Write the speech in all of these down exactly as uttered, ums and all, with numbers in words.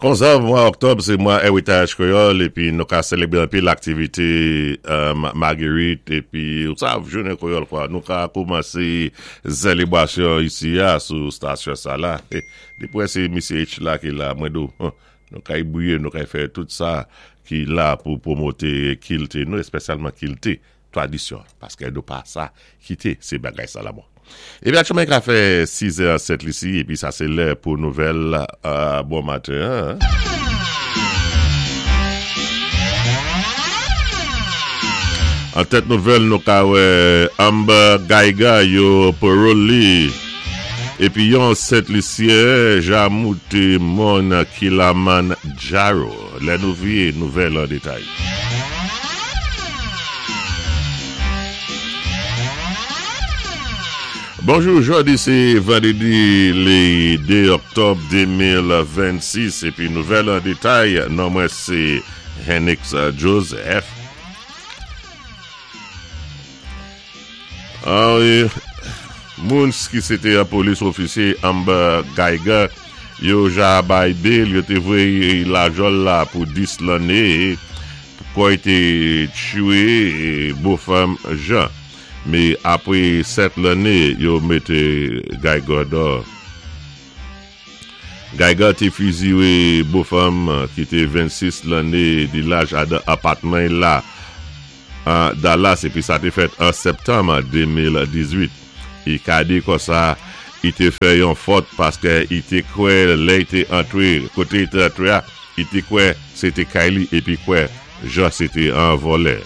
Konsa, mwa òktòb, sé mwa Eritaj Kwéyòl, épi nou ka sélébwé anpil aktivité euh, Marguerite, épi, ou sav, jounen kwéyòl kwa, nou ka koumansé sélébwasyon isi a, sou stasyon sa la. Dépi sé Misye H la ki la, mwen di ou, nou ka y bwiyé, nou ka y fè tout sa ki la pou pwomoté kilti, nou espesyalman kilti, tradisyon, paské nou pa sa kité sé bagay sa la bon. Épi aktyèlman ka fè sis è sèt isi, épi sa sé lè pou nouvèl euh, bon maten. Hein? An tèt nouvèl nou ka wè Amber Guyger yo parole li. Épi yon Sent Lisyen ja mouté mòn Kilimanjaro. Lè nou viwé nouvèl an détay. Bonjou, jòdi sé vandrédi lé dé òktòb de mil vennsis épi nouvèl an détay, non mwen sé Henix Joseph. Ah wi, moun ki sété yon police officer Amber Guyger, yo ja bay bail, yo té voyé lajòl la pou dis lanné pou i té twiyé bofanm Jean. Mé apwé sèt lanné, yo mété Guyger dò. Guyger té fiziwé bofanm ki té vennsis lanné di laj adan apatman la an Dallas épi sa té fèt an septanm de mil dizuit. I ka di konsa, i té fè yon fòt paské i té kwè lè i té antwé, koté i té antwé a, i té kwè sé té kay li épi kwè jan sé té an vòlè.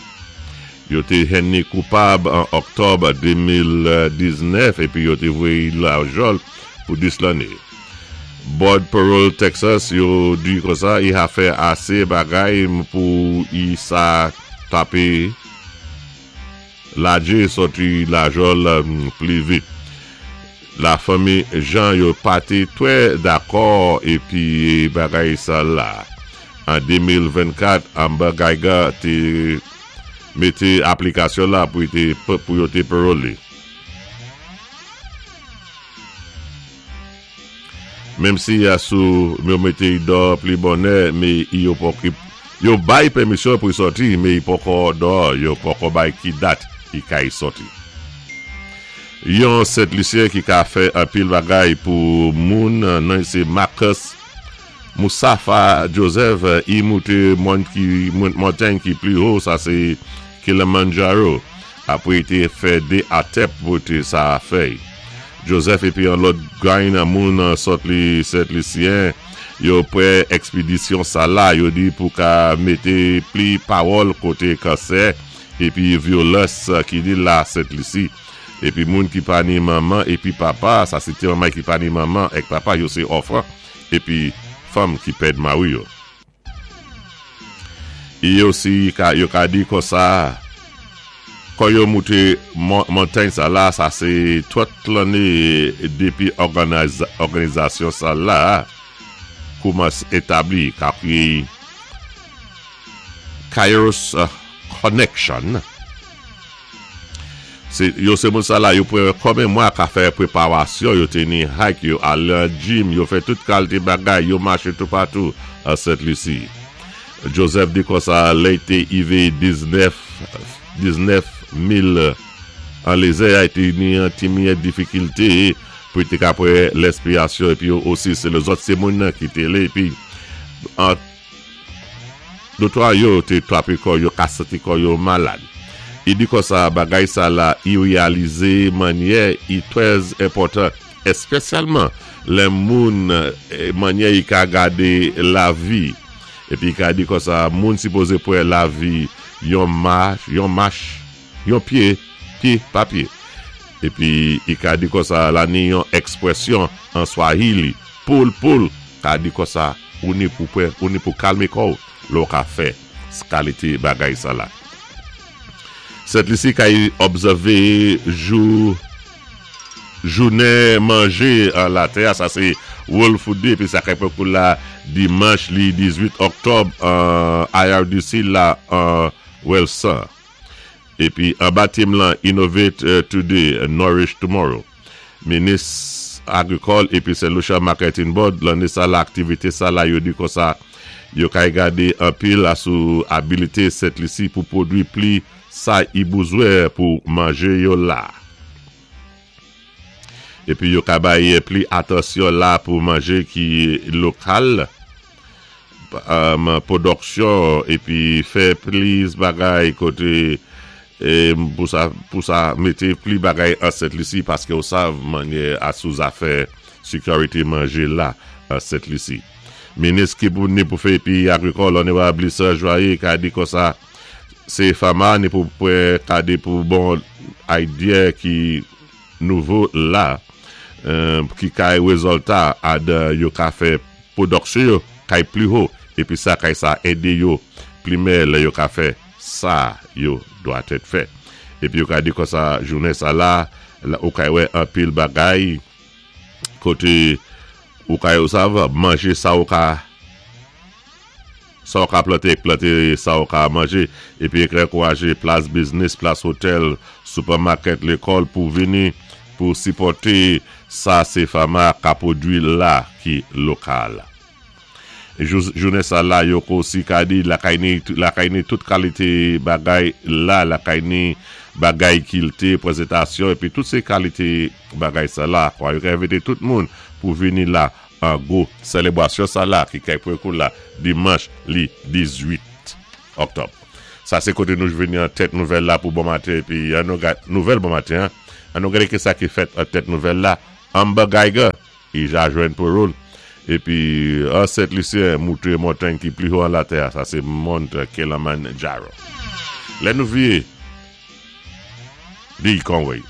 Yo té jwenn ni koupab an òktòb de mil diznèf épi yo té voyé lajòl pou dis lanné. Board Parole Texas yo di konsa i a fè asé bagay pou i sa twapé lajé sòti lajòl pli vit. La fanmi Jean yo pa té twè dakò épi bagay sa la. An de mil vennkat, Amber Guyger té mété aplikasyon la pou té pou yo té parole. Menm si ya sou yo mété dò pli bonè, mé yo poko yo bay pèmisyon pou sòti, mé i poko dò, yo poko bay ki dat i kay sòti. Yon Sent Lisyen ki ka fè anpil bagay pou moun nan sé Marcus Moussafa Joseph, i mouté mòn ki montay ki pli wo, sa sé Kilimanjaro. Apwé i té fè dé attempt pou té sa fè. Joseph épi an lòt grenn moun sòt li Sent Lisyen yo pwé èkspédisyon sa la, yo di pou ka mété pli pawòl koté kansè épi vyolans ki di la Sent Lisi. Épi moun ki pa ni manman épi papa, sa sé ti manman ki pa ni manman èk papa, yo sé òfen épi fanm ki pèd mari yo. I osi ka, yo ka di konsa, kon yo mouté montay sa la, sa sé twant lanné dépi òganizasyon sa la koumansé établi ka ki Kairos Connection. Sé, yo sé moun sa la, yo pwé konbyen mwa ka fè pwéparasyon, yo té ni hike, yo alé an gym, yo fè tout kalité bagay, yo maché tout patou a Sent Lisi. Joseph di konsa, lè i té ivé diznèf, diznèf mil an lézè, a té ni an ti miyèt difikilté pou té ka pwé lèspirasyon, épi yo osi sé lèzòt sé moun nan ki té lé, épi an dotwa yo té twapé kò yo, ka santi kò yo malad. I di konsa bagay sa la, i wéyalizé mannyè i twè enpòtan, espesyalman lè moun mannyè i ka gadé lavi. Épi i ka di konsa, moun sipozé pwé lavi yon mach, yon mach, yon pyé, pyé pa pyé. Épi i ka di konsa la ni yon èkspwésyon an Swahili, pole pole, ka di konsa, ou ni pou pwé, ou ni pou kalmé kò, lò ka fè kalité bagay sa la. Sent Lisi ka òbsèvé jou jounen manjé an latè, sa sé World Food Day, épi sa kay pwé kou la dimanch li dizuit òktòb an I R D C la an Welson. Épi anba tèm lan, Innovate Today, Nourish Tomorrow. Minis Agrikòl épi Saint Lucia Marketing Board, lanné sa la, aktivité sa la, yo di konsa, yo kay gadé anpil la sou abilité Sent Lisi pou pwodwi pli sa i bezwen pou manjé yo la. Épi yo ka bay pli atansyon la pou manjé ki lokal, um, pwodiksyon épi fè plis bagay koté é, pou sa pou sa mété pli bagay an Sent Lisi paské ou sav manyè a sou zafè sékirité manjé la an Sent Lisi. Minis ki pou ni pou fè épi agrikòl Onorab Lisa Joye ka di konsa sé FAMA ni pou pou gade pou bon idea ki nouvo la euh, ki kay rézilta ad yo ka fè pwodiksyon yo kay pli wo épi sa kay sa édé yo pli mè lè yo ka fè sa yo dwa tèt fè. Épi yo ka di konsa jounen sa la, la ou kay wè anpil bagay koté ou kay ou sav manjé sa ou ka sa ou ka planté, planté sa ou ka manjé épi ankourajé plas business, plas hotel, supermarket, lékòl pou vini pou sipòté sa sé FAMA ka pwodwi la ki lokal. Jounen sa la yo ko si ka di lakay ni lakay ni tout kalité bagay la, lakay ni bagay kilte, prézentasyon épi tout sé kalité bagay sa la, kwa yo ka envité tout moun pou vini la an gwo sélébrasyon sa la ki kay pou kou la dimanch li dizuit oktòb. Sa sé koté nou vini an tèt nouvèl la pou bon maten épi an nou gad nouvèl bon maten an, an nou gadé ki sa ki fèt an tèt nouvèl la. Amber Guyger, i ja jwenn parole épi an Sent Lisyen mouté montay ki pli wo an latè, sa sé Mount Kilimanjaro. Lè nou vié Dee Conway.